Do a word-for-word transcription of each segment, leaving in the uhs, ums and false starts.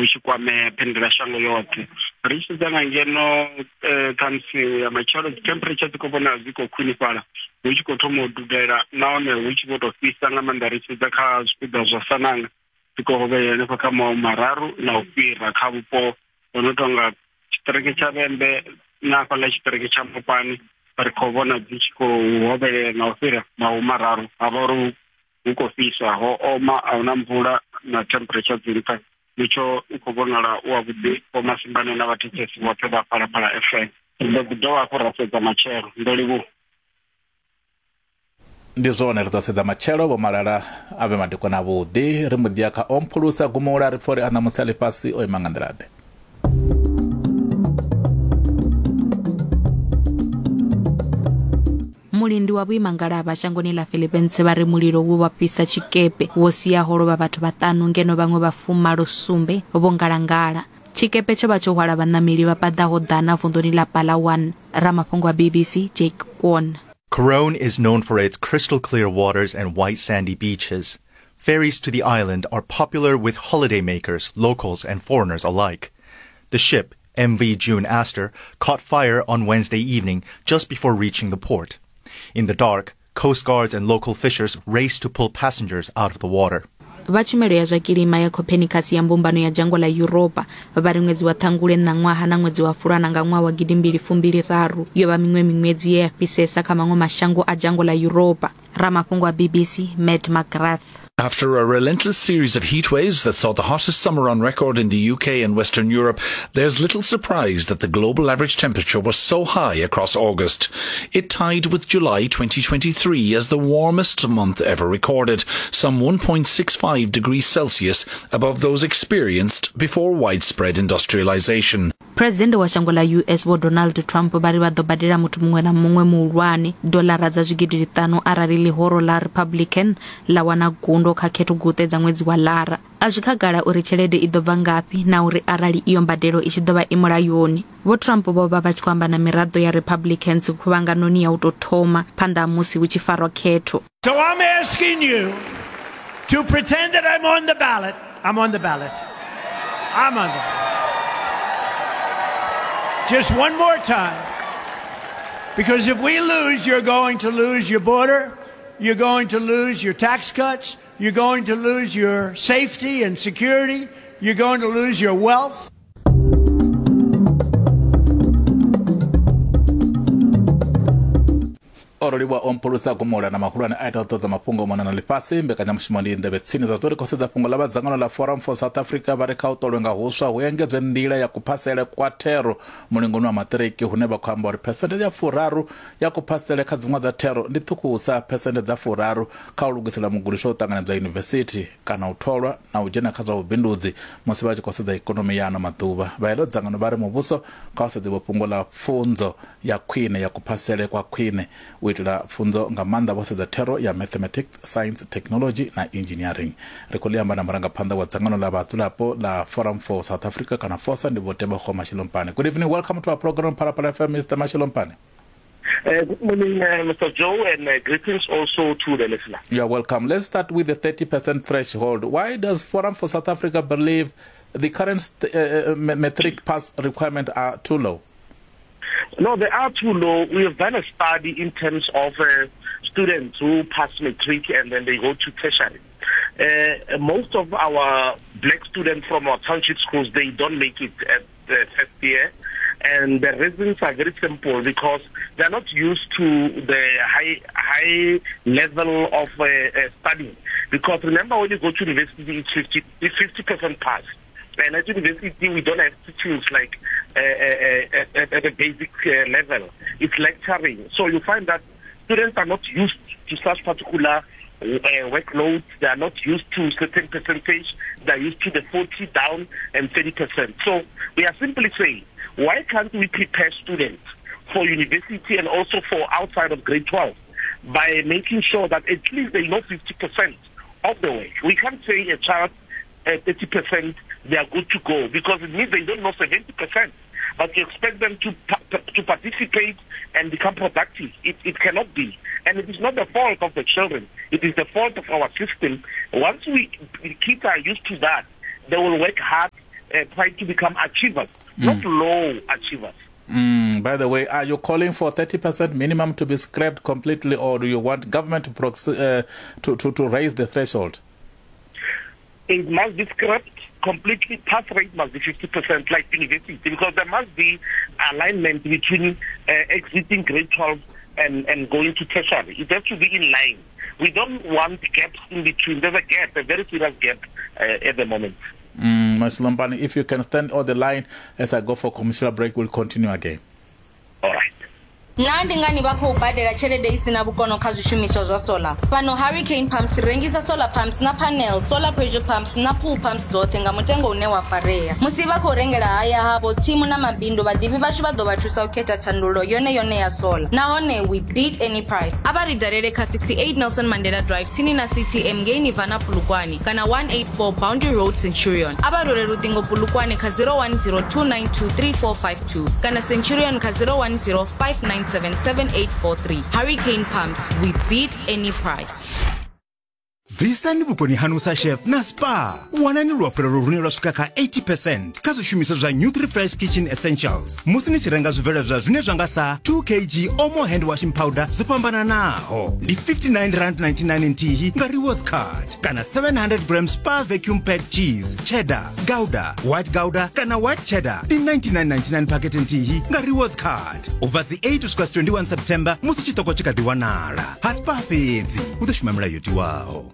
hu tshi kwame phendelashango yoṱhe. Ri tshi sedza nga ngeno ṱhamusi ya matshelo dzi temperature dzi khou vhonala dzi khou khwinifhala, hu tshi khou thoma u dudela nahone hu tshi vho tou fhisa nga maanḓa. Ri tshi sedza kha zwipiḓa zwa Sananga dzi khou hovhelela hanefha kha mahumi mararu na u fhira kha vhupo ho no tonga tshiṱiriki tsha Vhembe na hafhaḽa tshiṱiriki tsha Mopani, ri khou vhona dzi tshi khou hovhelela na u fhira mahumi mararu. Ha vha uri hu khou fhisa, ho oma, a huna mvula na temperature dzi nṱha. Mutsho u khou vhonala u wavhuḓi. Vho Masimbane na vhathetshelesi vhoṱhe vha Phalaphala F M. Ri ḓo ḓi dovha hafhu ra sedza matshelo. Ndo livhuwa. Ndi zwone, ri ḓo sedza matshelo. Vho Malala a vhe madekwana avhuḓi. Ri muḓi kha Omphulusa Gumula ri pfa uri a ṋamusi a ḽifhasi o ima nga nḓila-ḓe. Mulindi wa vhuimangalavha shangoni ḽa Philippines vha ri mulilo wo vha fhisa tshikepe wo siaho lovha vhathu vhaṱanu ngeno vhaṅwe vha fumalo sumbe vho ngalangala. Tshikepe tsho vha tsho hwala vhaṋameli vha paḓaho ḓana vunḓuni ḽa Palawan. Ramafhungo wa B B C Jake Kwon. Coron is known for its crystal clear waters and white sandy beaches. Ferries to the island are popular with holidaymakers, locals and foreigners alike. The ship, M V June Astor, caught fire on Wednesday evening just before reaching the port. In the dark, coast guards and local fishers raced to pull passengers out of the water. Vha tshumelo ya zwa kilima ya Copernicus ya mbumbano ya dzhango ḽa Yuropa vha ri ṅwedzi wa Ṱhangule ṋaṅwaha na ṅwedzi wa Fulwana nga ṅwaha wa gidi mbili fumbili raru yo vha miṅwe miṅwedzi ye ya fhisesa kha maṅwe mashango a dzhango ḽa Yuropa. Ramafhungo wa B B C Matt McGrath. After a relentless series of heat waves that saw the hottest summer on record in the U K and Western Europe, there's little surprise that the global average temperature was so high across August. It tied with July twenty twenty-three as the warmest month ever recorded, some one point six five degrees Celsius above those experienced before widespread industrialization. President wa shango ḽa U S Vho Donald Trump vha ri vha ḓo badela muthu muṅwe na muṅwe muhulwane dolara dza zwigidi zwiṱanu arali ḽihoro ḽa Republican ḽa wana gundo kha khetho guṱe dza ṅwedzi wa Lara. A zwi khagala uri tshelede i ḓo bva ngafhi na uri arali iyo mbadelo i tshi ḓo vha i mulayoni. Vho Trump vho vha vha tshi khou amba na miraḓo ya Republicans khuvhanganoni ya u tou thoma phanḓa ha musi hu tshi farwa khetho. So I'm asking you to pretend that I'm on the ballot. I'm on the ballot. I'm on the ballot. Just one more time. Because if we lose, you're going to lose your border, you're going to lose your tax cuts, you're going to lose your safety and security, you're going to lose your wealth. Oroliwa Omphulusa Gumula na mahulwane a ita u ṱoḓa mafhungo mona na ḽifhasi. Mbekanyamushumo ndi nḓevhe tsini zwa zwo ri khou sedza fhungo ḽa vha dzangano ḽa Forum for South Africa vha ri kha u ṱolwe nga huswa hu engedzwe nḓila ya kuphasele kwa thero mulingoni wa maṱiriki, hune vha khou amba uri phesenthe ya furaru ya kuphasele kha dziṅwe dza thero ndi ṱhukhusa phesenthe dza furaru kha u lugisela mugudiswa u ṱanganedzwa yunivesithi kana u tholwa na u dzhena kha zwa vhubindudzi musi vha tshi khou sedza ikonomi ya ano maḓuvha. Vha heḽo dzangano vha ri muvhuso kha u sedziwe fhungo ḽa pfunzo ya khwine ya kuphasele kwa khwine u itela pfunzo nga maanḓa vho sedza thero ya mathematics, science, technology na engineering. Ri khou ḽi amba na murangaphanḓa wa dzangano ḽa vhadzulapo ḽa Forum for South Africa kana FOSA, ndi Vho Tebogo Mashilompane. Good evening, welcome to our program Phalaphala F M, Mister Mashilompane. Uh, good morning, uh, Mister Joe, and uh, greetings also to the listener. You're welcome. Let's start with the thirty percent threshold. Why does Forum for South Africa believe the current uh, matric pass requirement are too low? No, they are too low. We have done a study in terms of uh, students who pass matric and then they go to tertiary. Uh, most of our black students from our township schools, they don't make it at the first year. And the reasons are very simple, because they're not used to the high high level of uh, uh, study. Because remember, when you go to university, it's fifty, it's fifty percent pass. And at university, we don't have teachings like uh, uh, at, at a basic uh, level. It's lecturing. So you find that students are not used to such particular uh, workloads. They are not used to certain percentage. They are used to the forty down and thirty percent. So we are simply saying, why can't we prepare students for university and also for outside of grade twelve by making sure that at least they know fifty percent of the work? We can't say a child at thirty percent they are good to go, because it means they don't know seventy percent. But you expect them to to participate and become productive. It, it cannot be. And it is not the fault of the children. It is the fault of our system. Once we the kids are used to that, they will work hard. uh, try to become achievers, mm. not low achievers. Mm, by the way, are you calling for thirty percent minimum to be scrapped completely, or do you want government to, prox- uh, to, to, to raise the threshold? It must be scrapped completely. Pass rate must be fifty percent, like university, because there must be alignment between uh, exiting grade twelve and, and going to tertiary. It has to be in line. We don't want gaps in between. There's a gap, a very serious gap uh, at the moment. Mm, Mashilompane, if you can stand on the line as I go for commercial break, we'll continue again. All right. Na ndi ngani vha khou badela tshelede i sina vhukono kha zwishumiswa zwa solar? Fhano Hurricane Pumps ri rengisa solar pumps na panels, solar pressure pumps na pool pumps dzoṱhe nga mutengo une wa farea. Musi vha khou rengela haya havho, tsimu na mabindu, vhaḓivhi vhashu vha ḓo vha thusa u khetha thandululo yone yone ya solar. Nahone we beat any price. A vha ri dalele kha sixty-eight Nelson Mandela Drive tsini na C T M ngei Nirvana Polokwane kana one eighty-four Boundary Road Centurion. A vha rwele luṱingo Polokwane kha zero one zero two nine two three four five two kana Centurion kha zero one zero five nine seven seven eight four three. Hurricane Pumps, we beat any price. Bvisani vhukoni hanu sa chef na spa. Wanani luafhulelo lune lwa swika kha eighty percent kha zwishumiswa zwa Nutri-Fresh Kitchen Essentials musi ni tshi renga zwibveledzwa zwine zwa nga sa two kilograms Omo hand washing powder zwo fhambananaho ndi fifty-nine rand ninety-nine nthihi nga rewards card kana seven hundred grams Spa vacuum packed cheese cheddar, gouda, white gouda kana white cheddar ndi ninety-nine ninety-nine packet nthihi nga rewards card. U bva dzi eight u swika twenty-one September musi tshiṱoko tshi kha ḓi wanala. Ha Spa fhedzi hu ḓo shuma milayo yo tiwaho.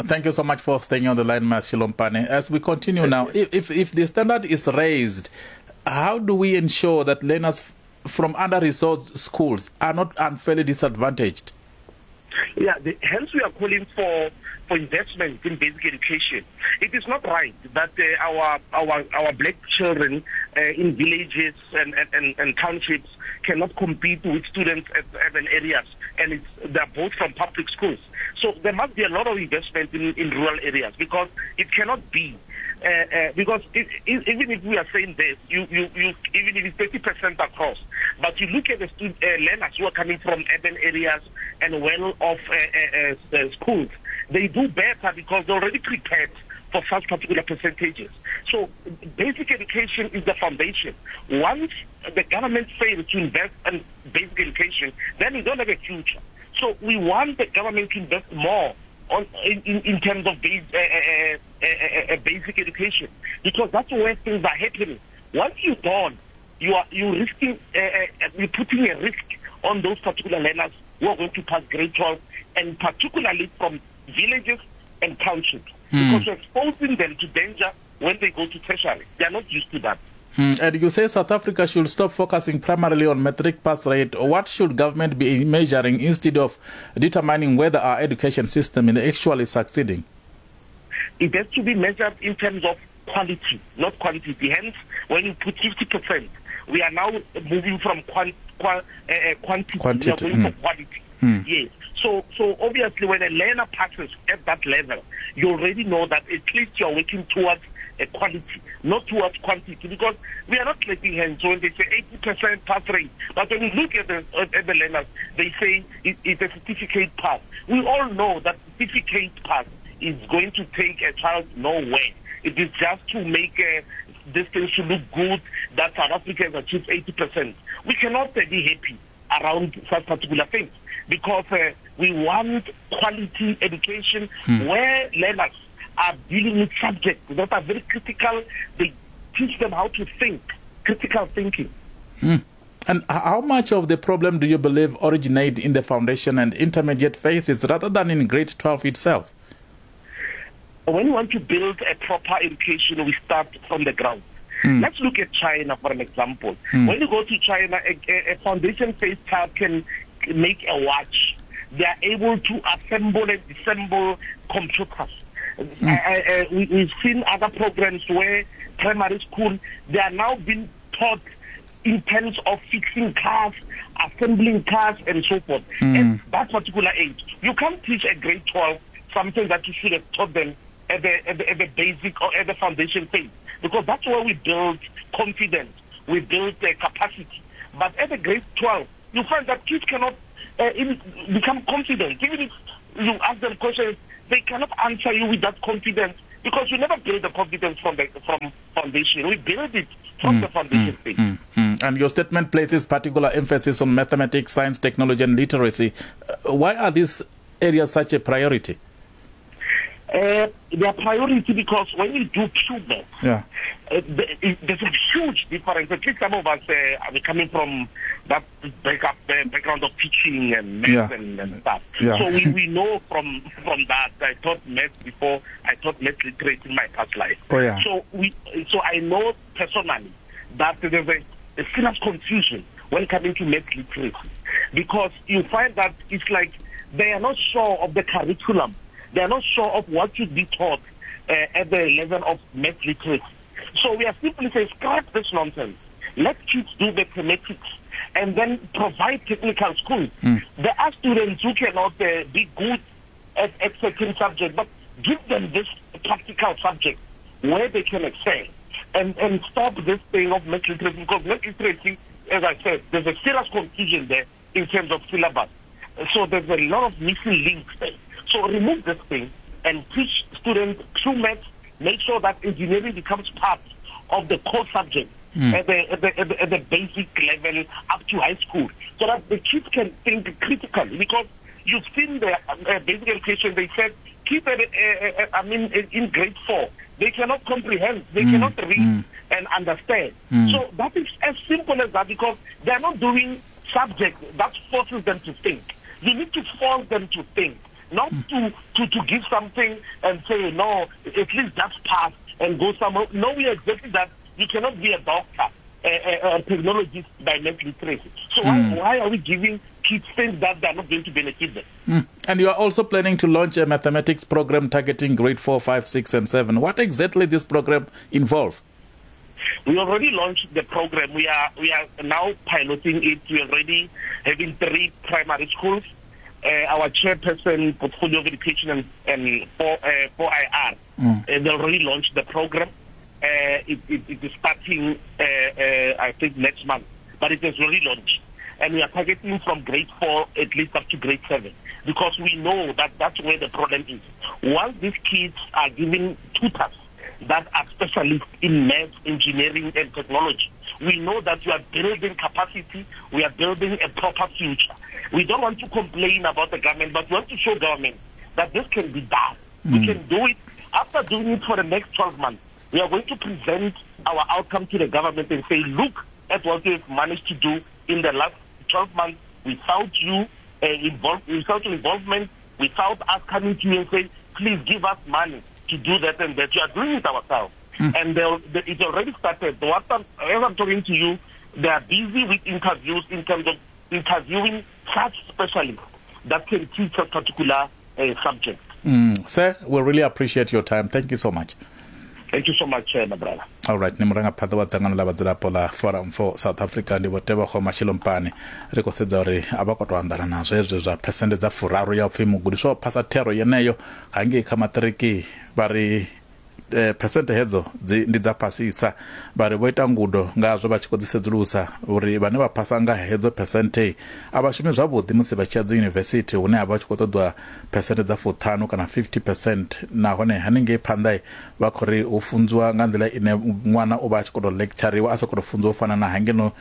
Thank you so much for staying on the line, Mashilompane. As we continue now, if, if, if the standard is raised, how do we ensure that learners from under-resourced schools are not unfairly disadvantaged? Yeah, the, hence we are calling for, for investment in basic education. It is not right that uh, our, our, our black children uh, in villages and, and, and townships cannot compete with students at urban areas, and it's, they're both from public schools. So there must be a lot of investment in, in rural areas, because it cannot be. Uh, uh, because it, it, even if we are saying this, you, you, you, even if it's thirty percent across, but you look at the student, uh, learners who are coming from urban areas and well-off uh, uh, uh, schools, they do better because they're already prepared for such particular percentages. So basic education is the foundation. Once the government fails to invest in basic education, then we don't have a future. So we want the government to invest more on in, in, in terms of base, uh, uh, uh, uh, basic education, because that's where things are happening. Once you don't, you are you risking uh, uh, you're putting a risk on those particular learners who are going to pass grade twelve, and particularly from villages and townships, mm. because you're exposing them to danger when they go to tertiary. They are not used to that. Mm. And you say South Africa should stop focusing primarily on matric pass rate. What should government be measuring instead of determining whether our education system is actually succeeding? It has to be measured in terms of quality, not quantity. Hence, when you put fifty percent, we are now moving from quant, qua, uh, quantity, quantity. We are going mm. for quality. Mm. Yes. So, so obviously, when a learner passes at that level, you already know that at least you are working towards a quality, not towards quantity, because we are not clapping hands when they say eighty percent pass rate. But when we look at the, at the learners, they say it, it's a certificate pass. We all know that certificate pass is going to take a child nowhere. It is just to make uh, this thing to look good that South Africa has achieved eighty percent. We cannot uh, be happy around such particular things, because uh, we want quality education hmm. where learners are dealing with subjects that are very critical. They teach them how to think, critical thinking. Mm. And how much of the problem do you believe originate in the foundation and intermediate phases rather than in grade twelve itself? When we want to build a proper education, we start from the ground. Mm. Let's look at China for an example. Mm. When you go to China, a, a foundation phase child can make a watch. They are able to assemble and disassemble computers. Mm. Uh, uh, we, we've seen other programs where primary school, they are now being taught in terms of fixing cars, assembling cars, and so forth. Mm. At that particular age, you can't teach a grade twelve something that you should have taught them at the, at the, at the basic or at the foundation phase, because that's where we build confidence, we build uh, capacity. But at the grade twelve, you find that kids cannot uh, even become confident. Even if you ask them questions, they cannot answer you with that confidence Because we never build the competence from the from foundation. We build it from mm, the foundation mm, stage. Mm, mm. And your statement places particular emphasis on mathematics, science, technology, and literacy. Uh, why are these areas such a priority? Uh, they are priority because when you do pure math, yeah. uh, there's a huge difference. At least some of us uh, are coming from that backup, uh, background of teaching and math yeah. and, and stuff. Yeah. So we, we know from, from that. I taught math before. I taught math literacy in my past life. Oh, yeah. So we, so I know personally that there's a, a serious confusion when coming to math literacy, because you find that it's like they are not sure of the curriculum. They are not sure of what should be taught uh, at the level of math literacy. So we are simply saying, scrap this nonsense. Let kids do mathematics and then provide technical schools. Mm. There are students who cannot uh, be good at, at certain subjects, but give them this practical subject where they can excel and, and stop this thing of math literacy, because math literacy, as I said, there's a serious confusion there in terms of syllabus. So there's a lot of missing links there. So remove this thing and teach students through math, make sure that engineering becomes part of the core subject mm. at, the, at, the, at, the, at the basic level up to high school, so that the kids can think critically. Because you've seen the uh, basic education, they said, keep it, uh, uh, I mean, in grade four, they cannot comprehend, they mm. cannot read mm. and understand. Mm. So that is as simple as that, because they are not doing subject that forces them to think. You need to force them to think. Not to, to, to give something and say, no, at least that's passed and go somewhere. No, we exactly that. You cannot be a doctor, a, a, a technologist by math literacy. So mm. why, why are we giving kids things that they are not going to benefit them? Mm. And you are also planning to launch a mathematics program targeting grade four, five, six, and seven. What exactly this program involve? We already launched the program. We are, we are now piloting it. We are already having three primary schools. Uh, our chairperson, Portfolio of Education and, and four, uh, four I R, mm. uh, they already launched the program. Uh, it, it, it is starting, uh, uh, I think, next month, but it has already launched. And we are targeting from grade four at least up to grade seven, because we know that that's where the problem is. Once these kids are given tutors that are specialists in math, engineering, and technology, we know that we are building capacity, we are building a proper future. We don't want to complain about the government, but we want to show government that this can be done. Mm. We can do it. After doing it for the next twelve months, we are going to present our outcome to the government and say, look at what we've managed to do in the last twelve months without you, uh, involve, without your involvement, without us coming to you and saying, please give us money to do that and that. We are doing it ourselves. Mm. And they, it already started. What I'm, as I'm talking to you, they are busy with interviews in terms of interviewing such specialists that can teach a particular uh, subject. Mm. Sir, we really appreciate your time. Thank you so much. Thank you so much, uh, my brother. All right, ni murangaphanḓa wa dzangano ḽa vhadzulapo ḽa Forum for South Africa ndi Vho Tebogo Mashilompane. Ri khou sedza uri a vha khou tou anḓana nazwo hezwi zwa phesente dza furaru ya upfhi mugudiswa o phasa thero yeneyo hangei kha maṱiriki, vha ri eh, phesente hedzo dzi ndi dza fhasisa. Vha ri vho ita ngudo ngazwo vha tshi khou dzi sedzulusa uri vhane vha phasa nga hedzo phesente a vha shumi zwavhuḓi musi vha tshi ya dzi yunivesithi hune ha vha tshi khou ṱoḓwa phesente dza fuṱhanu kana fifty percent, nahone haningei phanḓa vha khou ri u funziwa nga nḓila ine ṅwana u vha a tshi khou tou lectureriwa a sa khou tou funziwa u fana na hangeno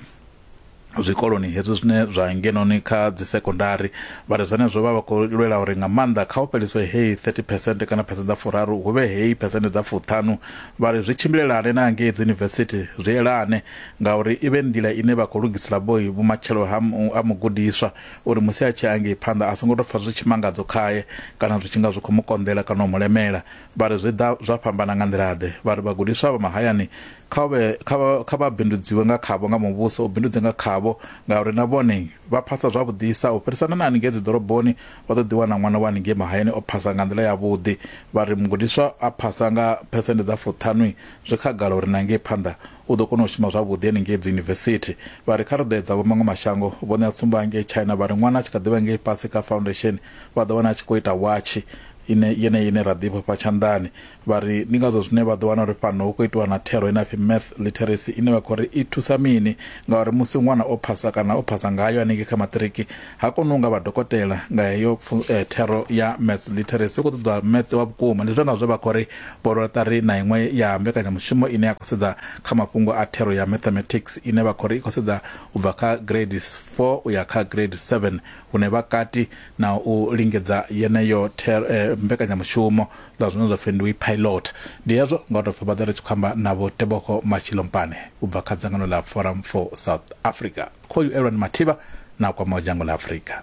zwikoloni hezwi zwine zwa ngenoni kha dzi sekondari. Vha ri zwenezwo vha vha khou lwela uri nga maanḓa kha u fheliswe heyi thirty percent kana phesente dza furaru hu vhe heyi phesente dza fuṱhanu. Vha ri zwi tshimbilelane na ngei dzi yunivesithi zwi elane, ngauri i vhe nḓila ine vha khou lugisela boy vhumatshelo ha ha mugudiswa uri musi a tshi ya ngei phanḓa a songo tou pfa zwi tshimangadzo khae kana zwi tshi nga zwi khou mu konḓela kana u mu lemela. Vha ri zwi ḓa zwa fhambana nga nḓila ḓe. Vha ri vhagudiswa vha mahayani kha vhe kha vha bindudziwe nga khavho nga muvhuso u bindudze nga khavho, ngauri na vhone vha phasa zwavhuḓisa u fhirisana na haningei dzi ḓoroboni. Vha ḓo ḓiwana ṅwana wa haningei mahayani o phasa nga nḓila yavhuḓi. Vha ri mugudiswa a phasa nga phesente dza fuṱhanu zwi khagala uri na ngei phanḓa u ḓo kona u shuma zwavhuḓi haningei dzi yunivesithi. Vha ri kha ri ḓo edza vho maṅwe mashango, vho ṋea tsumbo hangei China, vha ri ṅwana a tshi kha ḓivha ngei fhasi kha foundation vha ḓo wana a tshi khou ita watshi ine yene ine ra ḓivha fha tshanḓani. Vha ri ndi ngazwo zwine vha ḓo wana uri fhano hu khou itiwa na thero ine pfi math literacy, ine vha khou ri i thusa mini, ngauri musi ṅwana o phasa kana o phasa ngayo hanengei kha maṱiriki ha koni u nga vha dokotela nga heyo eh, thero ya math literacy. U khou ṱoḓa math wa vhukuma. Ndi zwone zwe vha khou ri vho rwela ṱari na iṅwe ya mbekanyamushumo ine ya khou sedza kha mafhungo a thero ya mathematics, ine vha khou ri i khou sedza u bva kha grade four u ya kha grade seven, hune vha kati na u lingedza yeneyo eh, mbekanyamushumo zwa zwine zwa pfi ndi pilot. Ndi hezwo nga u tou pfi vha ḓo ri tshi khou amba na Vho Tebogo Mashilompane u bva kha dzangano ḽa Forum for South Africa. Khoyu Elwani Mathiba na kwamaho dzhango ḽa Afrika.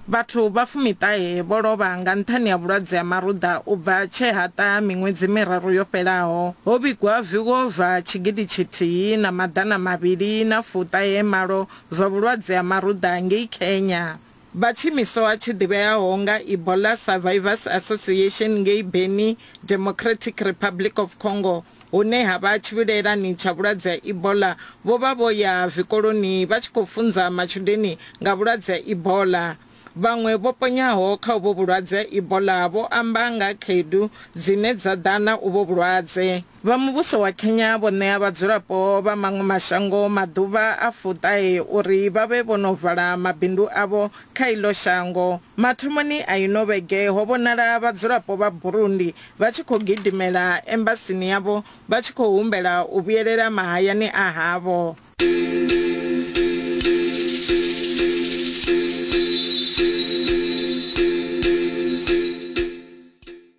Vhathu vha fumiṱahe vho lovha nga nṱhani ha vhulwadze ha maruḓa u bva tshe ha ṱaha miṅwedzi miraru yo fhelaho. Ho vhigwa zwiwo zwa tshigidi tshithihi na maḓana mavhili na fuṱahe malo zwa vhulwadze ha maruḓa ngei Kenya. Vha tshiimiswa tshi ḓivheaho nga Ebola Survivors Association ngei Beni, Democratic Republic of Congo, hune ha vha tshivhilelani tsha vhulwadze ha Ebola, vho vha vho ya zwikoloni vha tshi khou funza matshudeni nga vhulwadze ha Ebola. Vhaṅwe vho ponyaho kha uvho vhulwadze Ebola vho amba nga khaedu dzine dza ḓa na uvho vhulwadze. Vha muvhuso wa Kenya vho ṋea vhadzulapo vha maṅwe mashango maḓuvha a fuṱahe uri vha vhe vho no vala mabindu avho kha iḽo shango. Mathomoni a ino vhege ho vhonala vhadzulapo vha Burundi vha tshi khou gidimela embasini yavho vha tshi khou humbela u vhuyelela mahayani a havho.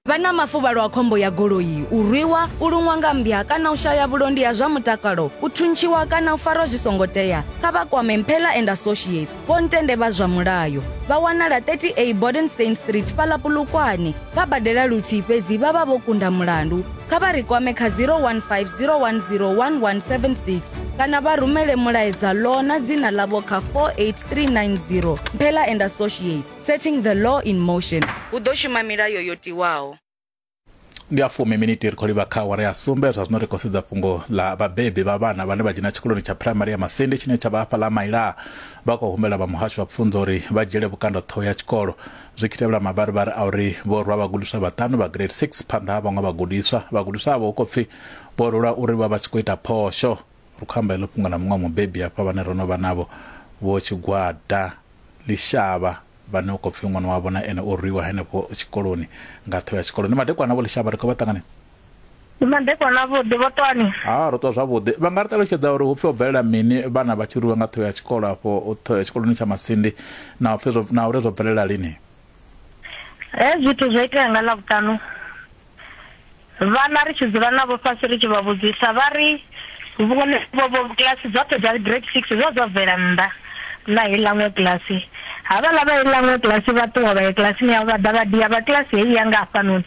Vha na mafuvhalo a khombo ya goloi, u rwiwa, u luṅwa nga mmbya kana u shaya vhulondi ha zwa mutakalo, u thuntshiwa kana u farwa zwi songo tea, kha vha kwame Mphela and Associates, Vho Ntende vha zwa mulayo. Vha wanala thirty A Bodenstein Street fhaḽa Polokwane. Vha badela luthihi fhedzi vha vha vho kunda mulandu. Kha vha ri kwame kha zero one five zero one zero one one seven six kana vha rumele mulaedza law na dzina ḽavho kha four eight three nine zero. Mphela and Associates, setting the law in motion. Hu ḓo shuma milayo yo tiwaho. Ndi a fumi miniti ri khou livha kha awara ya sumbe. Zwa zwino ri khou sedza fhungo ḽa vhabebi vha vhana vhane vha dzhena tshikoloni tsha primary ya Masindi tshine tsha vha hafha ḽa Maila. Vha khou humbela vha muhasho wa pfunzo uri vha dzhiele vhukando ṱhoho ya tshikolo zwi tshi tevhela mavharivhari a uri vho rwa vhagudiswa vhaṱanu vha grade six phanḓa ha vhaṅwe vhagudiswa. Vhagudiswa avho hu khou pfi vho rulwa uri vha vha tshi khou ita phosho. Ri khou amba heḽo fhungo na muṅwe mubebi hafha vhane ro no vha navho, Vho Tshigwada Lishava, vhane u khou pfi ṅwana wavho na ene o rwiwa henefho tshikoloni nga ṱhoho ya tshikolo. Ndi madekwana Vho Lishava, ri khou vha ṱanganedza. Ndi madekwana avhuḓi vho ṱwani. Ha, ro ṱwa zwavhuḓi. Vha nga ri ṱalutshedza uri hu pfi o bvelela mini vhana vha tshi rwiwa nga ṱhoho ya tshikolo afho tshikoloni tsha Masindi, na upfi zwo na uri zwo bvelela lini? Hezwi zwithu zwo itea nga Ḽavhuṱanu. Vhana ri tshi dzula navho fhasi ri tshi vha vhudzisa vha ri vhone vho kilasi dzoṱhe dza grade six zwo zwo bvela nnḓa na heiḽa ṅwe kilasi. Havhaḽa vha heiḽa ṅwe kilasi vha ṱuwa vha ya kilasini yavho, vha ḓa vha dia vha kilasi heyi ya nga hafhanoni,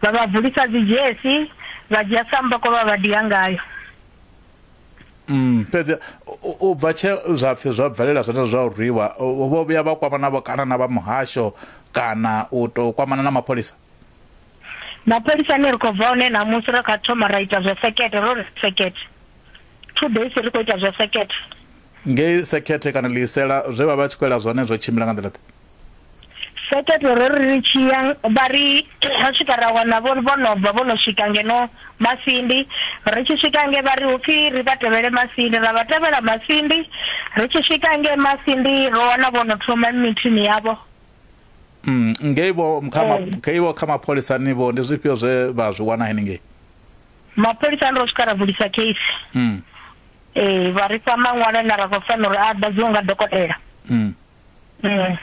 vha vha vulisa dzi dzhesi, vha dzhia samboko vha vha dia ngayo. Mm, fhedzi u bva tshe zwa pfi zwa bvelela zwone zwa u rwiwa, vho vhuya vha kwamana navho kana na vha muhasho kana u tou kwamana na mapholisa? Mapholisa ane ri khou bva hone ṋamusi ri kha thoma ra ita zwa sekete, ro ri sekete two days ri khou ita zwa sekete. Ngei sekete kana ḽiisela zwe vha vha tshi khou ela zwone zwo tshimbila nga nḓila ḓe? Sekete ro ri ri tshi ya vha ri ra swika ra wana vho vho no bva vho no swika ngeno Masindi. Ri tshi swika nge vha ri hupfi ri vha tevhele Masindi, ra vha tevhela Masindi. Ri tshi swika nge Masindi ro wana vho no thoma mithini yavho. Mm, ngei vho kha ngei vho kha mapholisa ni vho ndi zwifhio zwe vha zwi wana henengei? Mapholisa ro swika ra vulisa case. Mm. Eh, vha ri fha maṅwalo na ra khou fanela uri a ḓadziwe nga dokotela. Mm. Mm.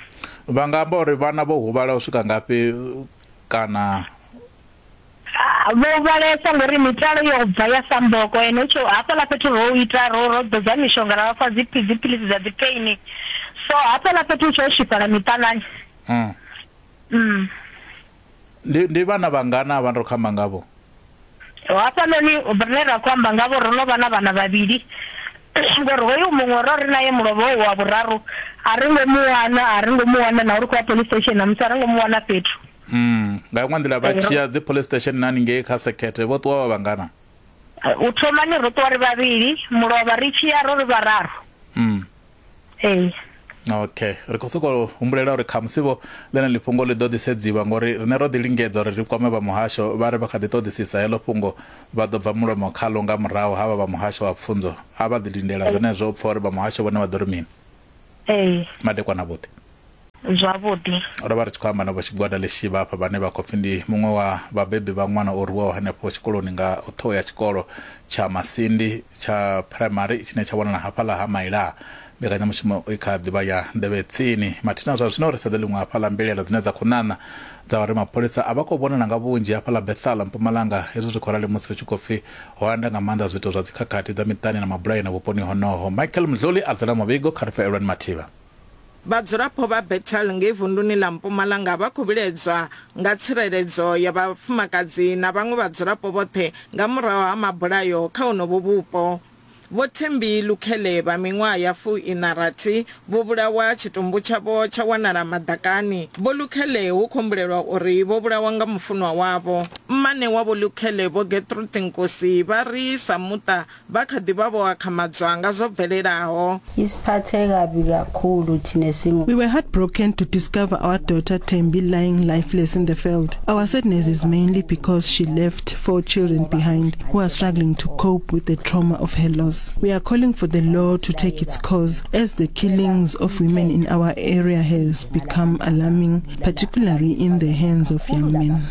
Vha nga amba uri vhana vho huvhala u swika ngafhi kana? Vho huvhalesa ngori mitalo yo bva ya samboko ene tsho hafhaḽa fhethu ro ita ro ro ḓodza mishonga ra vha fha dzi dziphilisi dza dzi pain, so hafhaḽa fhethu tsho swifhala miṱanani. Mm. Mm. Ndi ndi vhana vhangana vha ro khamba ngavho? Hafhanoni rine ra khou amba ngavho ro no vha na vhana vhavhili, ngori hoyu muṅwe ro ri naye mulovha hoyu wa vhuraru a ri ngo mu wana, a ri ngo mu wana na uri khou ya police station namusi a ri ngo mu wana fhethu. Mm. Nga iṅwe nḓila vha tshiya dzi police station na haningei kha sekete vho ṱuwa vha vhangana? U thomani ro ṱuwa ri vhavhili, mulovha ri tshiya ro ri vhararu. Mm. Ee. Okay, ri khou sokou humbulela uri khamusi vho ḽeneḽi fhungo ḽi ḓo ḓisedziwa ngori riṋe ro ḓi lingedza uri ri kwame vha muhasho vha ri vha kha ḓi ṱoḓisisa heḽo fhungo vha ḓo bva mulomo khalo nga murahu havha vha muhasho wa pfunzo a vha ḓi lindela zwenezwo u pfa uri vha muhasho vhone vha ḓo ri mini. Ee. Madekwana vhuḓi. Zwavhuḓi. Ro vha ri tshi khou amba na vho Tshigwada Lishivha hafha vhane vha khou pfi ndi muṅwe wa vhabebi vha ṅwana o rwiwaho hanefho tshikoloni nga ṱhoho ya tshikolo tsha Masindi tsha primary tshine tsha wanala hafhaḽa ha Maila. Mbekanyamushumo i kha ḓivha ya nḓevhe tsini. Mathina zwa zwino ri sedze ḽiṅwe hafhaḽa mbilaelo dzine dza khou ṋaṋa dza uri mapholisa a vha khou vhonala nga vhunzhi hafhaḽa Bethal Mpumalanga. Hezwi zwi khou rali musi hu tshi khou pfi ho anda nga maanḓa zwiito zwa dzikhakhathi dza miṱani na mabulayo na vhuponi honoho. Michael Mdluli a dzela muvhigo kha ri pfe Elwani Mathivha. Vhadzulapo vha Bethal ngei vunduni ḽa Mpumalanga vha khou vhiledzwa nga tsireledzo ya vhafumakadzi na vhaṅwe vhadzulapo vhoṱhe nga murahu ha mabulayo kha honovho vhupo. Vho Thembi Lukhele vha miṅwaha ya fuiṋa rathi vho vhulawa tshitumbu tshavho tsha wanala maḓakani. Vho Lukhele hu khou humbulelwa uri vho vhulawa nga mufunwa wavho. Mmane wa Vho Lukhele Vho Gertrude Nkosi vha ri sa muṱa vha kha ḓi vha vho akhamadzwa nga zwo bvelelaho. We were heartbroken to discover our daughter Thembi lying lifeless in the field. Our sadness is mainly because she left four children behind who are struggling to cope with the trauma of her loss. We are calling for the law to take its course, as the killings of women in our area has become alarming, particularly in the hands of young men.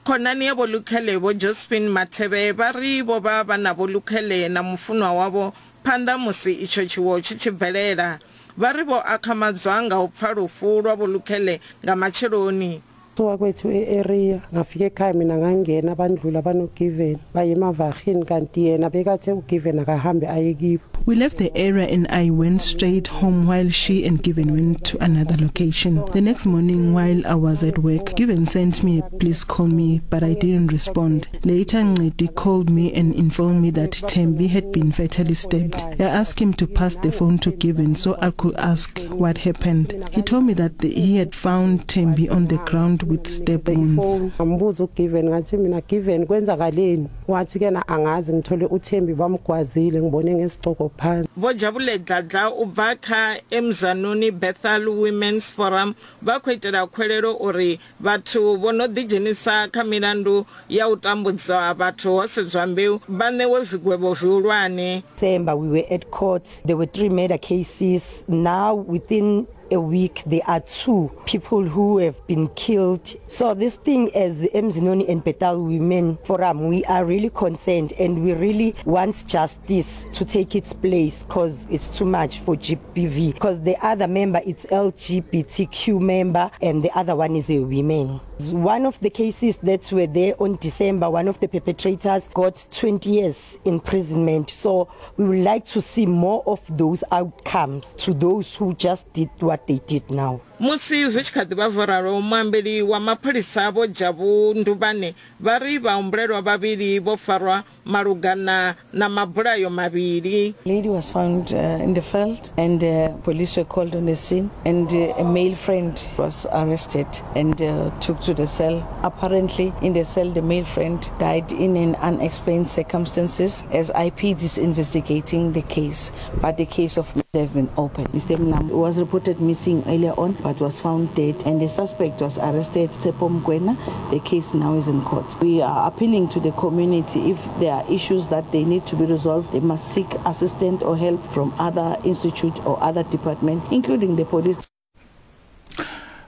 Khonani ya Vho Lukhele Vho Josephine Mathebe vha ri vho vha vha na Vho Lukhele na mufunwa wavho phanḓa musi itsho tshiwo tshi tshi bvelela. Vha ri vho akhamadzwa nga u pfa lufu lwa Vho Lukhele nga matsheloni. Suka kwethu e-area ngafika ekhaya mina ngangena bandlula banoGiven baye emavahini kanti yena bekathe uGiven akahambe aye kibo. We left the area and I went straight home while she and Given went to another location. The next morning while I was at work, Given sent me a please call me, but I didn't respond. Later, Ngidi called me and informed me that Thembi had been fatally stabbed. I asked him to pass the phone to Given so I could ask what happened. He told me that the, he had found Thembi on the ground with stab wounds. Ngambuza uGiven ngathi mina Given kwenzakaleni, wathi kena angazi ngithole uThembi bamgwazile ngibone ngesigcoko phansi. Vho Jabule Dladla u bva kha Emzanoni Bethal Women's Forum vha khou itela khwelelo uri vhathu vho no ḓidzhenisa kha milandu ya u tambudzwa vhathu ho sedzwa mbeu vha ṋewe zwigwevho zwihulwane. December we were at court, there were three murder cases. Now within a week there are two people who have been killed. So this thing, as Emzinoni and Bethal Women Forum, we are really concerned and we really want justice to take its place, because it's too much for G B V, because the other member is L G B T Q member and the other one is a woman. One of the cases that were there on December, one of the perpetrators got twenty years imprisonment. So we would like to see more of those outcomes to those who just did what they did now. Musi zwi tshi kha ḓi vha zwo ralo, muambeli wa mapholisa Vho Jabu Ndubane vha ri vhahumbulelwa vhavhili vho farwa malugana na mabulayo mavhili. Lady was found uh, in the field and uh, police were called on the scene, and uh, a male friend was arrested and uh, took to the cell. Apparently in the cell the male friend died in an unexplained circumstances, as I P D is investigating the case, but the case of murder has been opened. Mister Mlam was reported missing earlier on but was found dead, and the suspect was arrested, Tsepo Mkwena. The case now is in court. We are appealing to the community, if there are issues that they need to be resolved, they must seek assistance or help from other institutes or other departments, including the police.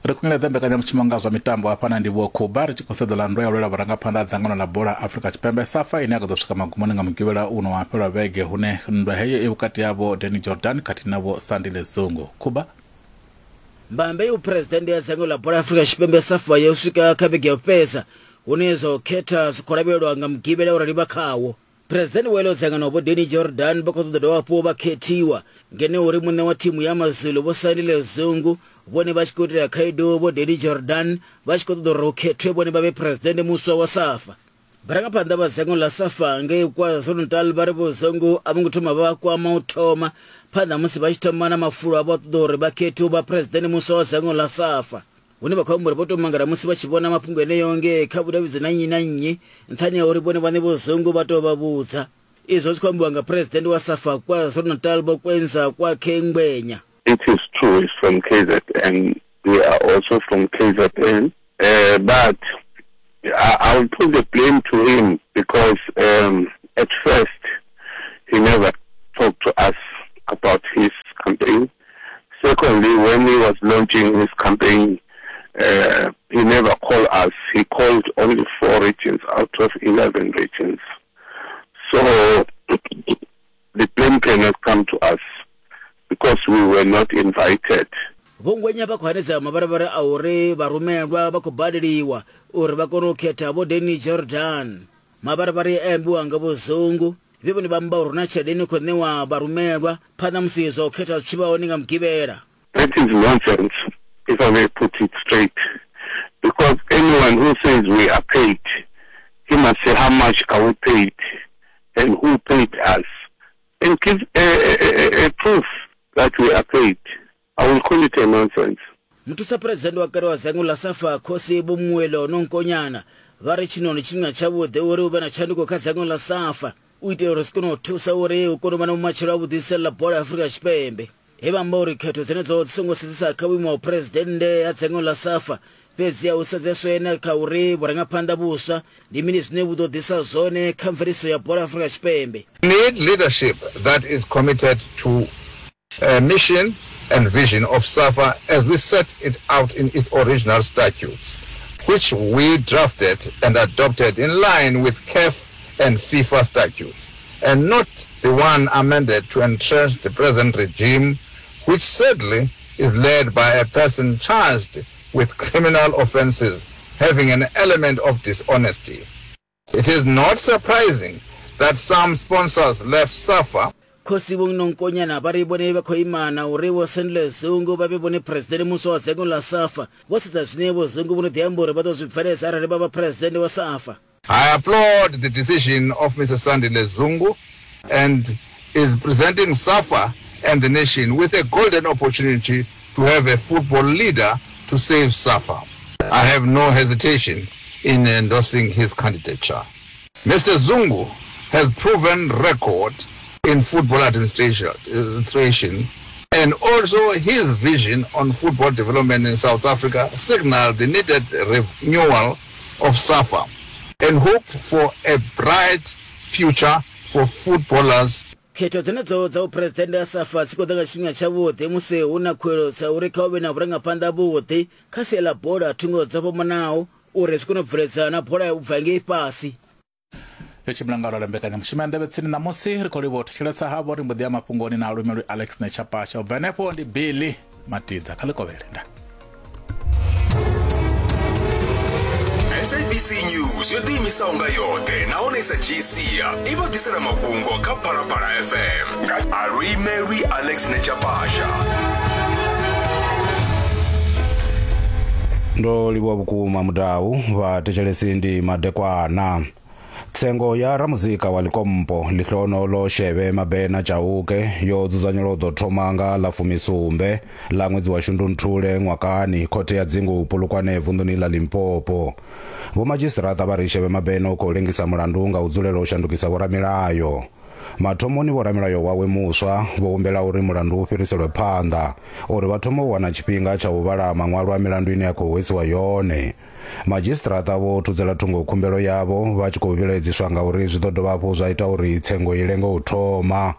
Ri khunyeledza mbekanyamushumo nga zwa mitambo hafha na ndivho Khuba ri tshi khou sedza nndwa ya u lwela vhurangaphanḓa ha dzangano ḽa bola Afrika Tshipembe SAFA ine ya ḓo swika magumoni nga mugivhela uno wa fhela vhege, hune nndwa heyo i vhukati havho Danny Jordan khathihi na vho Sandile Zungu. Khuba. Mbambe u president ya dzangano ḽa bola Afrika Tshipembe SAFA yo swika kha vhege ya u fhedza, hune zwa u khetha zwi khou lavhelelwa nga mugivhela uri vha khawo. President wa ḽo dzangano vho Danny Jordan vha khou ṱoḓa dovha hafhu vha khethiwa, ngeno uri muṋe wa thimu ya Mazulu vho Sandile Zungu vhone vha tshi khou itela khaedu vho Danny Jordan vha tshi khou ṱoḓa uri hu khethwe vhone vha vhe president muswa wa SAFA. Vharangaphanḓa vha dzangano ḽa SAFA ngei KwaZulu-Natal vha ri vho Zungu a vho ngo thoma vha kwama u thoma phanḓa musi vha tshi thoma na mafulo a vha ṱoḓa uri vha khethiwe vha president muswa wa dzangano ḽa SAFA, hune vha khou amba uri vho tou mangala musi vha tshi vhona mafhungo eneyo ngei kha vhudavhidzani na nnyi na nnyi, nṱhani ha uri vhone vhaṋe vho Zungu vha tou vha vhudza. Izwo zwi khou ambiwa nga president wa SAFA KwaZulu-Natal Vho Kwenza Kwakhe Ngwenya. It is true, it's from K Z N. We are also from K Z N. Uh, but I, I will put the blame to him because um, at first he never talked to us about his campaign. Secondly, when he was launching his campaign, uh, he never called us. He called only four regions out of eleven regions. So the blame cannot come to us because we were not invited. Vho Ngwenya vha khou hanedza mavharivhari a uri vharumelwa vha khou badeliwa uri vha kone u khetha Vho Danny Jordan. Mavharivhari a ambiwa nga Vho Zungu vhe vhone vha amba uri na tshelede ine khou ṋewa vharumelwa phanḓa musi zwa u khetha zwi tshi vha hone nga Mugivhela. That is nonsense, if I may put it straight. Because anyone who says we are paid, he must say how much are we paid and who paid us, and give a, a, a, a proof that we are paid. I will call it a nonsense. Muthusa president wa kale wa dzangano ḽa SAFA Khosi Vho Muelo Nonkonyana vha ri tshino ndi tshifhinga tshavhuḓi uri hu vhe na tshanduko kha dzangano ḽa SAFA u itela uri zwi kone u thusa uri hu kone u vha na vhumatshelo havhuḓi sia ḽa bola ya Afrika Tshipembe. He vha amba uri khetho dzenedzo dzi songo sedzesa kha vhuimo ha phuresidennde ha dzangano ḽa SAFA, fhedzi a hu sedzeswe na kha uri vhurangaphanḓa vhuswa ndi mini zwine vhu ḓo ḓisa zwone kha mveledziso ya bola ya Afrika Tshipembe. We need leadership that is committed to a mission and vision of SAFA as we set it out in its original statutes, which we drafted and adopted in line with C A F and FIFA statutes, and not the one amended to entrench the present regime, which sadly is led by a person charged with criminal offenses having an element of dishonesty. It is not surprising that some sponsors left SAFA. Khosi Vho Nonkonyana vha ri vhone vha khou imana uri Vho Sandile Zungu vha vhe vhone president muswa wa dzangano ḽa SAFA. Vho sedza zwine Vho Zungu vho no ḓi amba uri vha ḓo zwi bveledza arali vha vha president wa SAFA. I applaud the decision of Mister Sandile Zungu and is presenting SAFA and the nation with a golden opportunity to have a football leader to save SAFA. I have no hesitation in endorsing his candidature. Mister Zungu has proven record in football administration, administration and also his vision on football development in South Africa signaled the needed renewal of SAFA and hope for a bright future for footballers. Khetho dzenedzo dza vhuphuresidennde ha SAFA dzi khou ḓa nga tshifhinga tshavhuḓi musi hu na khuwelelo dza uri kha hu vhe na vhurangaphanḓa vhuḓi kha sia ḽa bola thungo dzo fhambanaho uri zwi kone u bveledza na bola ya u bva ngei fhasi. Yo tshimbila nga ralo mbekanyamushumo ya Nḓevhe Tsini ṋamusi ri khou livhuwa u thetshelesa havho ri mbo ḓi ya mafhungoni na lumelwi Alex Nechapasha. U bva henefho ndi Billy Matidza kha ḽikovhele. Nda S A B C News yo ḓiimisaho nga yoṱhe nahone i sa dzhii sia i vha ḓisela mafhungo kha Phalaphala F M nga Aluimelwi Alex Nechapasha. Ndo livhuwa vhukuma mudau vha thetshelesi ndi madekwana. Tsengo ya ramuzika wa Likompo Lihlono Sheve Mabena Chauke yo dzudzanyelwa u ḓo thoma nga ḽa fumisumbe ḽa ṅwedzi wa Shundunthule ṅwakani khothe ya dzingu Polokwane vunḓuni ḽa Limpopo. Vho madzhisiṱiraṱa vha ri Sheve Mabena u khou lengisa mulandu nga u dzulela u shandukisa vhoramilayo. Mathomoni vhoramilayo wawe muswa vho humbela uri mulandu u fhiriselwe phanḓa uri vha thome u wana tshifhinga tsha u vhala maṅwalo a milandu ine ya khou hwesiwa yone. Madzhisiṱiraṱa vho thudzela thungo khumbelo yavho vha tshi khou vhilaedziswa nga uri zwi ḓo dovha hafhu zwa ita uri tsengo i lenge u thoma.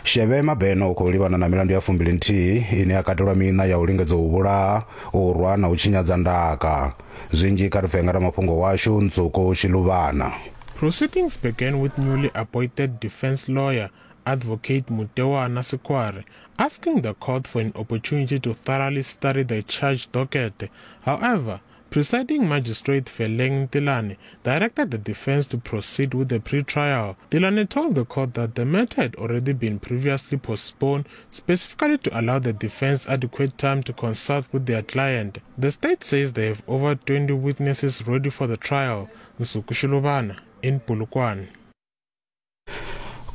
Sheve Mabena u khou livhana na milandu ya fumbili nthihi ine ya katelwa miṋa ya u lingedza u vhulaha, u rwa na u tshinyadza ndaka. Zwinzhi kha ri pfe nga ramafhungo washu Ntsoko Shiluvana. Proceedings began with newly appointed defense lawyer Advocate Mutewa Sikware asking the court for an opportunity to thoroughly study the charge docket. However, presiding magistrate Feleng Tilane directed the defense to proceed with the pre-trial. Tilane told the court that the matter had already been previously postponed specifically to allow the defense adequate time to consult with their client. The state says they have over twenty witnesses ready for the trial. Nsuku Shilubana in Polokwane.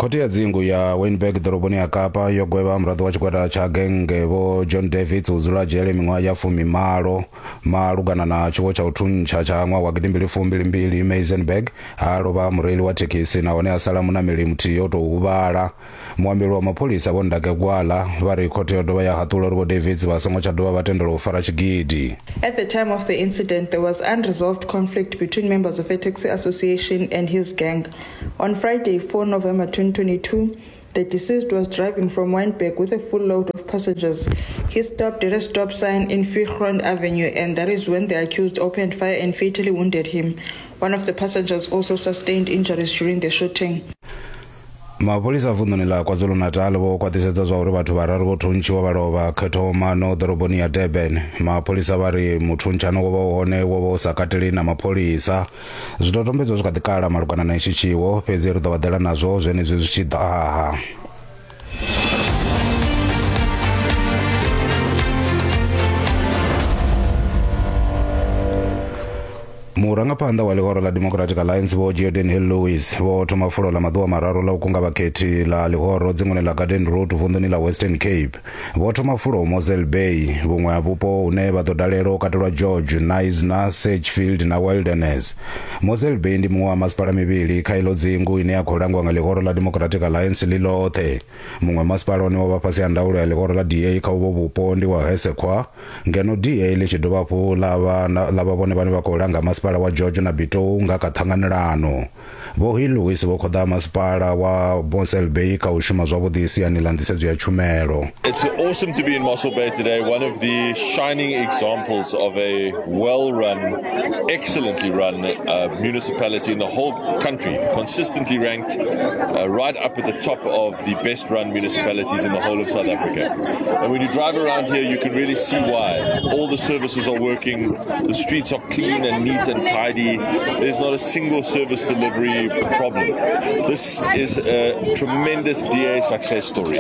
Khothe ya dzingu ya Wynberg ḓoroboni ya Kapa yo gwevha muraḓo wa tshigwada tsha genge Vho John Davids u dzula dzhele miṅwaha ya fumimalo malugana na tshiwo tsha u thuntsha tsha ṅwaha wa gidimbili fumbili mbili Maisenberg ha lovha mureili wa thekhisi nahone a sala munameli muthihi o tou huvhala. Muambeli wa mapholisa Vho Ndake Gwala vha ri khothe yo dovha ya haṱula uri Vho Davids vha songo tsha dovha vha tendelwa u fara tshigidi. At the time of the incident, there was unresolved conflict between members of a taxi association and his gang. On Friday, four November twenty twenty-two, the deceased was driving from Wynberg with a full load of passengers. He stopped at a stop sign in Viergrond Avenue, and that is when the accused opened fire and fatally wounded him. One of the passengers also sustained injuries during the shooting. Mapholisa a vunḓuni ḽa KwaZulu-Natal vho khwaṱhisedza zwa uri vhathu vhararu vho thuntshiwa vha lovha khethomano ḓoroboni ya Durban. Mapholisa vha ri muthuntsano wo vha u hone wo vha u sa kateli na mapholisa. Zwidodombedzwa zwi kha ḓi kala malugana na itshi tshiwo, fhedzi ri ḓo vha ḓela nazwo zwenezwi zwi tshi ḓa. Murangaphanḓa wa ḽihoro ḽa Democratic Alliance Vho Geordin Hill-Lewis vho thoma fulo ḽa maḓuvha mararu ḽa u kunga vhakhethi ḽa ḽihoro dzinguni ḽa Garden Route vunḓuni ḽa Western Cape. Vho thoma fulo Mossel Bay, vhuṅwe ha vhupo hune vha ḓo dalela u katelwa George, Knysna, Sedgefield na Wilderness. Mossel Bay ndi muṅwe wa masipala mivhili kha iḽo dzingu ine ya khou langwa nga ḽihoro ḽa Democratic Alliance ḽi ḽoṱhe. Muṅwe masipala une wa vha fhasi ha ndaulo ya ḽihoro ḽa D A kha uvho vhupo ndi wa Hessequa, ngeno D A ḽi tshi dovha hafhu ḽa vha ḽa vha vhone vhane vha khou langa masipala wa George na Bitou nga kha ṱhanganelano. Vho Hill-Lewis vho khoḓa masipala wa Mossel Bay kha u shuma zwavhuḓi siani ḽa nḓisedzo ya tshumelo. It's awesome to be in Mossel Bay today, one of the shining examples of a well-run, excellently run uh, municipality in the whole country, consistently ranked uh, right up at the top of the best-run municipalities in the whole of South Africa. And when you drive around here, you can really see why. All the services are working, the streets are clean and neat and tidy. There's not a single service delivery problem. This is a tremendous D A success story.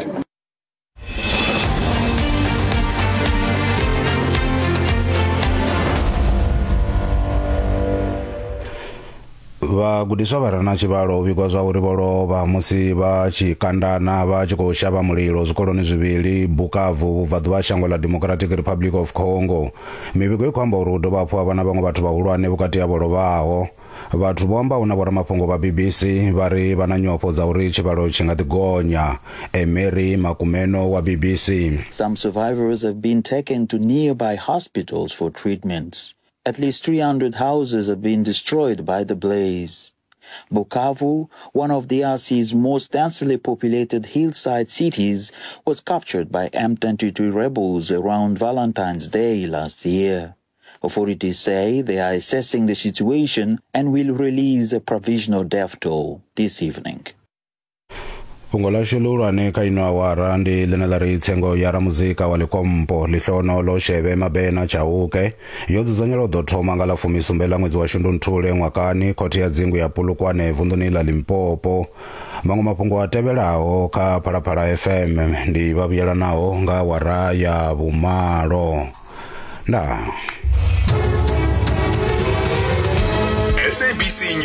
Vhagudiswa vha re na tshivhalo u vhigwa zwa uri vho lovha musi vha tshi kandana vha tshi khou shavha mulilo zwikoloni zwivhili Bukavu vhubvaḓuvha ha shango ḽa Democratic Republic of Congo. Mivhigo i khou amba uri hu dovha hafhu ha vha na vhaṅwe vhathu vhahulwane vhukati ha vho lovhaho. Vhathu vho ambaho na vhoramafhungo vha B B C vha ri vha na nyofho dza uri tshivhalo tshi nga ḓi gonya. Emery Makumeno wa B B C. Some survivors have been taken to nearby hospitals for treatments. At least three hundred houses have been destroyed by the blaze. Bukavu, one of D R C's most densely populated hillside cities, was captured by M twenty-three rebels around Valentine's Day last year. Authorities say they are assessing the situation and will release a provisional death toll this evening. Fhungo ḽashu ḽihulwane kha ino awara ndi ḽine ḽa ri tsengo ya ramuzika wa Likompo Lihlono Shebe Mabena Chauke yo dzudzanyelwa u ḓo thoma nga ḽa fumisumbe ḽa ṅwedzi wa Shundunthule ṅwakani khothe ya dzingu ya Polokwane vunḓuni ḽa Limpopo. Maṅwe mafhungo a tevhelaho kha Phalaphala F M ndi vha vhuyelanaho nga awara ya vhumalo. Ndaa. S A B C.